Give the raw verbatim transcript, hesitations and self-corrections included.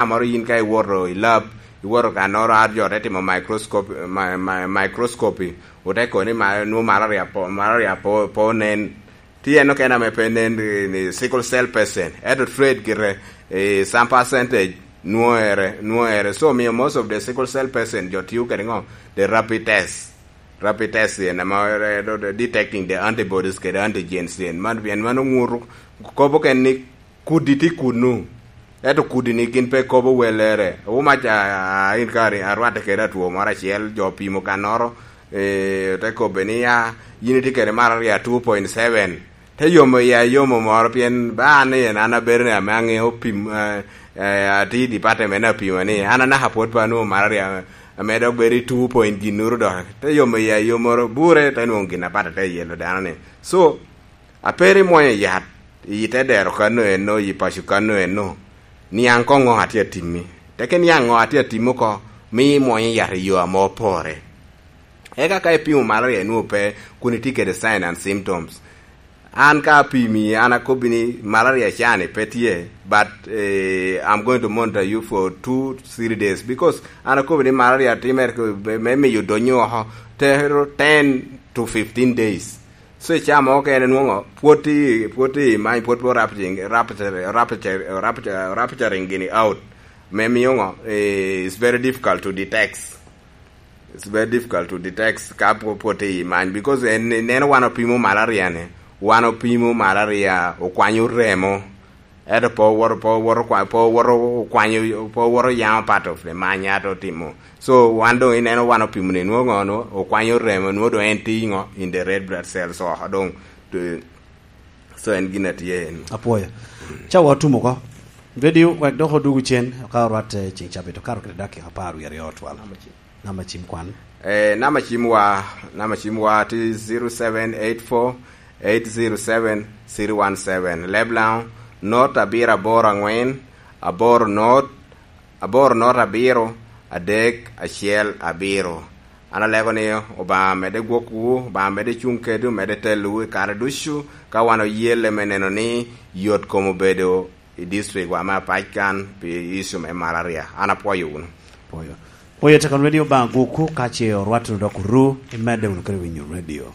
amoro yin ka iwoto i lab, iwoto kannoro, a jo te timo microscope, mi-, mi-, microscopy, ote koni ma-, nwo malaria po, malaria po, po nen. Tye en okene ame pe nen, eh, ni sickle cell patient. Ento trade gire, eh, some percentage nwoŋere, nwoŋere. So, miyo most of the sickle cell patient jo tiyo kede ŋo? The rapid test. Rapid test en ame, eh, do-, do-, detecting the antibodies kede antigens en. Man, pien mano ŋuto kobo ken ni kudi tye kunu. Ento kudi ni gin pe kobo welere. Omac a, a, in kari, arwatte kede atwo moro acel, jo pimo kannoro, eh, te kobbe ni, "Ah, yin itye kede malaria two point seven." Te yomo iya yomo moro, pien ba an ni en an abedo ni ame aŋeo pim, eh, eh, atye i department apimo ni, an anaka pwod pe anwoŋo malaria, ame dok bedo i two point ginnoro dok. Te yomo iya yomoro, bure, te nwoŋo gin apat te yelo dano ni. So, ape ri mwonyo yat i te dero kano eno, i paco kano eno, niaŋ koŋ ŋo atye atimmi. Teke niaŋ ŋo atye atimmi oko, mi imwonyo yat i yo ame opore. Eka ka ipimo malaria inwoŋo pe, kun itye kede sign and symptoms. An ka apimi, an akobbi ni malaria cani pe tye, but, eh, I'm going to monitor you for two, three days, because an akobbi ni malaria timere ko-, me, me miyo donyo oko tero ten to fifteen days. So, i caa mo okene nwoŋo pwod i, pwod i many, pwod pe rapturing, rapture, rapture, rapture, rapturing gini out. Me miyo ŋo, eh, it's very difficult to detect. It's very difficult to detect ka pwo-, pwod i many, because en, neno wan opimo malaria ni, wan opimo malaria okwanyo remo. Ento pe owoto, pe owoto kwa-, pe owoto okwanyo, pe owoto yamo part of the many ato timo. So, wan doŋ ineno wan opimo ni nwoŋo ŋo, nwoŋo okwanyo remo, nwoŋo doŋ en tye ŋo, in the red blood cells oko doŋ. To, so, en gin a tye en. Apwoyo. Ca wa otum oko. Radio, wek dok odugu cen, ka orwatte ceŋ cabit, okato kede dakika apar wie aryo otwal. Namba cim kwan. Eh, namba cim wa, namba cim wa tye zero seven eight four eight zero seven three one seven. Leblaŋo, not abiro aboro aŋwen, aboro not, aboro not abiro, adek acel abiro. An alego ni Obaŋa medde gwokwu, Obaŋa medde cuŋ kedwu, medde telowu i kare ducu, ka wan oyelle me neno ni yot kom obedo i district wa me apac kan pi issue me malaria. An apwoyo wunu. Pwoyo. Pwoyo tekon radio Obaŋa gwokwu, ka ce orwatto dok oru, imedde wunu kede winyo radio.